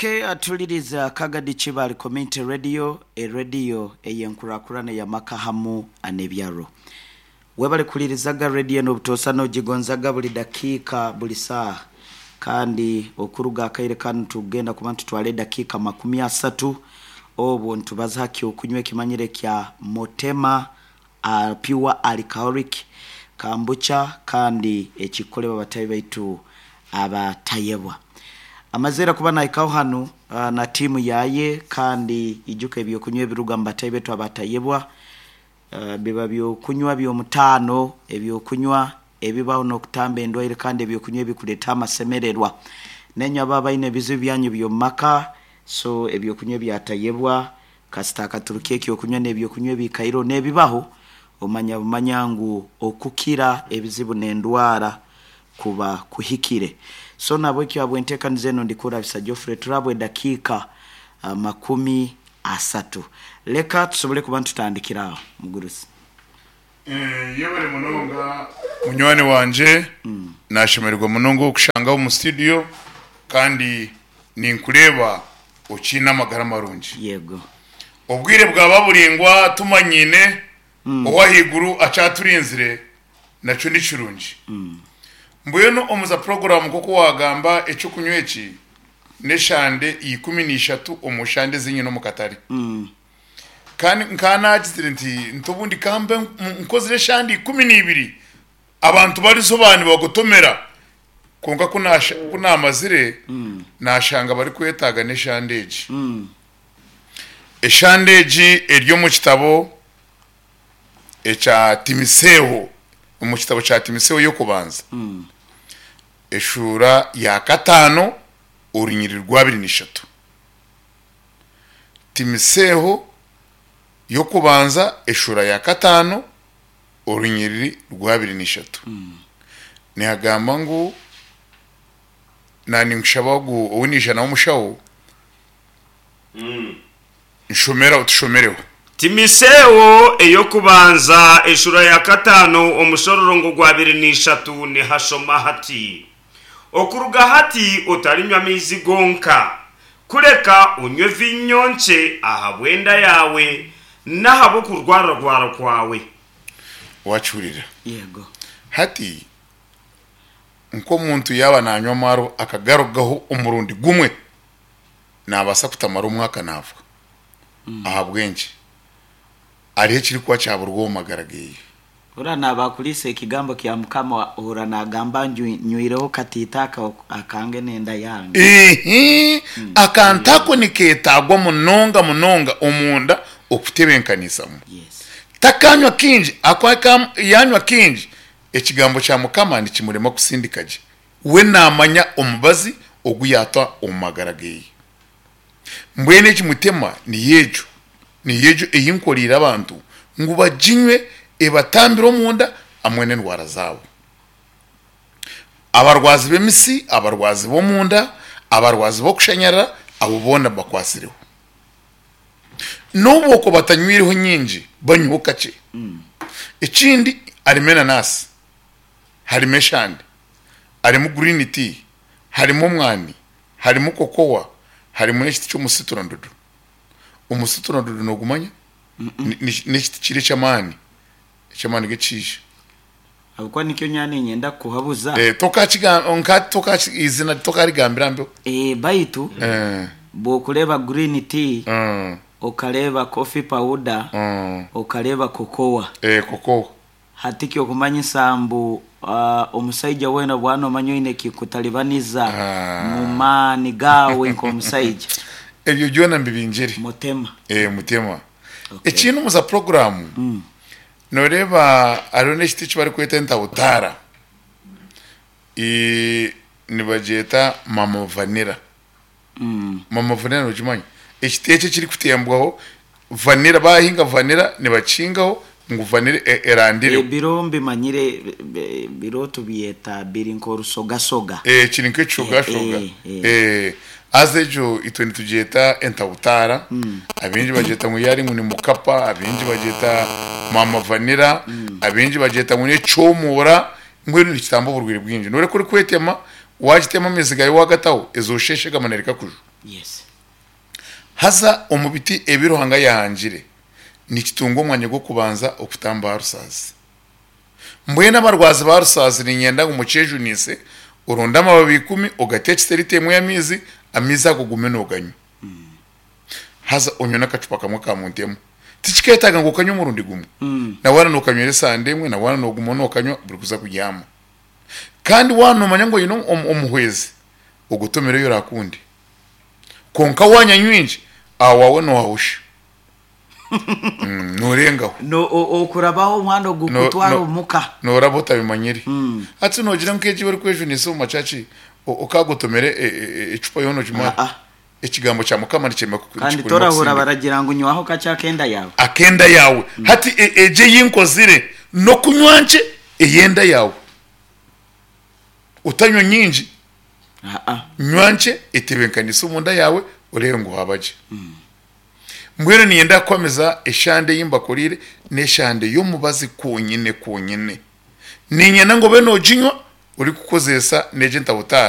Ok atuliriza Kagadi Kibaale Community Radio, erediyo ey'enkurakurana ey'amaka hamu n'ebyaro. Webale kuhulirizaga rediyo enu obutoosa n'ogigonzaga buli dakiika buli saaha. Kandi okuruga akaire kanu tugenda kuba nitutwara edakiika 30 obwo nitubaza ha ky'okunywa ekimanyire kya Motema Pure Alcoholic Kambucha kandi ekikukolebwa batahi baitu abatayebwa. Amazire kuba nahikaho hanu na tiimu yaye kandi ijuka ebyokunywa ebiruga mu batahi baitu abatayebwa biba byokunywa by'omutaano, ebyokunywa ebibaho n'okutamba endwaire kandi ebyokunywa ebikuleeta amasemererwa. Nainywe abo abaine ebizibu byanyu by'omu maka, so ebyokunywa ebyatayebwa Kasita akaturuka eky'okunywa n'eby'okunywa ebiikaireho n'ebibaho, omanya bumanya ngu okukira ebizibu n'endwara kuba kuhikire. So nahabwekyo habw'enteekaniza enu ndikurabisa Geoffrey turabwe edakiika 30. Leka tusobole kuba nitutandikira aho mugurusi. Yebare munonga munywani wangye, nashemererwa munonga okukushangaho omu studio kandi ninkureeba okiine amagara marungi. Yego. Obwire bwaba buraingwa tumanyiine, ow'ahaiguru akyaturinzire nakyo ni kirungi. Mbwenu omu za puroguraamu nk'oku waagamba eky'okunywa eki n'eshande 13 omu shande ezi nyine omu katare. Kandi nkaba naagizire nti, Nti obundi ka mbe nkozire eshande 12, abantu barizoba nibagotomera. Kwonka ku ku naamazire, naashanga barikwetaaga n'eshande egi. Eshande egi eri omu kitabo ekya Timiseeho, omu kitabo kya Timiseeho y'okubanza, eshuura ya kataano, orunyiriri rw'abiri n'ishatu. Timiseeho y'okubanza eshuura ya kataano orunyiriri rw'abiri n'ishatu nihagamba ngu naninkushaba ogu ou naija nawe omushaho nshomera otushomereho. Timiseewo ey'okubanza eshuura ya kataano omushororongo gw'abiri n'ishatu nihashoma hati, Okuruga hati otarinywa maizi gonka, kureka onywe viinyo nkye ahabw'enda yaawe n'ahabw'okurwararwara kwawe. Waakihurira? Yego. Hati, nk'omuntu yaaba naanywa amaarwa akagarugaho omurundi gumwe, naabaasa kutamara omwaka naafa. Ahabw'enki? Hariho ekirikuba kyaburwa omu magara ge. Ora naaba akuriisa ekigambo kya Mukama ohurra naagamba ngu nyweireho katiito aka akange n'enda yange. Ihi, akantu ako nikeetaagwa munonga munonga omunda okutebenkanisamu. Yes. Takanywa kaingi, ahakuba ka yaanywa kaingi, ekigambo kya Mukama nikimurema kusindika gye. We naamanya omubazi ogu yaata omu magara ge. Mbwenu egi mutema niyo egyo, niyo egyo ei nkoreire abantu ngu baginywe ebatambire omunda hamwe n'endwara zaabo. Abarwazi b'emisi, abarwazi b'omunda, abarwazi b'okushanyarara, abo boona mbakwatsireho. N'obu okwo batanyweireho nyingi, banyweho kakye. Ekindi harimu enanaasi, harimu eshande, harimu green tea, harimu omwani, Harimu kokowa, harimu n'ekiti ky'omusiturandudu. Omusiturandudu noogumanya? N'ekiti kiri eky'amaani, eky'amaani g'ekishaija. Ahabw'okuba nikyo nyowe niinyenda kukuhabuza. Eiziina tokarigambira mbeho. Baitu bw'okureeba green tea, okareeba coffee powder, okareeba kokowa. Kokowa. Hati ky'okumanyisa mbu omusaija weena obu nomanya oine ekikutalibaniza mu maani gaawe nk'omusaija. Ebyo byona mbibingire. Mutema. Mutema. Ekindi omu za puroguraamu, nooreeba hariho n'ekiti eki barikweta entabutaara, nibagyeta mama vanilla. Mama vanilla nokimanya? Ekiti ekyo ekirikutembwaho vanilla bahinga vanilla nibakihingaho ngu vanilla erandireho. Ebiro mbimanyire biro tubyeta biri nk'orusogasoga. Kiri nk'ekishogashoga. Haza egyo itwe nitugyeta entabutaara, abaingi bagyeta ngu yaari ngu ni mukapa, abaingi bagyeta maama vanilla, abaingi bagyeta ngu n'ekyomuura, mbwenu nikitamba oburwaire bwingi. Noreeba ku orikwetema, Waagitema amaizi gaayo waagataho, ezo osheeshe gamwe na rikakuju. Yes. Haza omu biti ebi Ruhanga yaahangire, nikitunga omwanya gw'okubanza okutamba aha rusaazi. Mbwenu abarwazi ba rusaazi niinyenda ngu mukyejunise, oronde amababi ikumi ogateekyise liita emwe y'amaizi, amaizi ago ogume nooganywa. Haza onywe n'akacupa kamwe ka muntu emwe. Tikikeetaaga ngu okanywe omurundi gumwe. Na waaba nookanywera esande emwe, na waaba nooguma nookanywa buri kuza kubyama. Kandi waaba noomanya ngu oine omuhwezi, ogotomere ei oraakunde. Kwonka waanywa nyingi, aho waawe noohahusha. Noorengaho. No, o- okurabaho omwana ogu No- kutwara no- omuka. Nooraba otabimanyire. Hati noogira ngu nk'egi barikwejunisa omu macaci, o- okaagotomera e- e- e- ecupa yoona ogimare. Ah, ah. Ekigambo kya Mukama nikyema ku- Kandi nikikurema torahura kusindika. baragira ngu nywaho kakye akenda yaawe. Akenda yaawe. Hati e- egi ei nkozire n'okunywa nkye ey'enda yaawe. Otanywa nyingi. Ah, ah. Nywa nkye etebeekanise omunda yaawe oreebe ngu waaba gye. Mbwenu niinyenda kukwamiza eshande ei mbakoreire n'eshande y'omubazi kwonyine kwonyine. Niinyenda ngu obe nooginywa orikukozesa n'egi entabutaara.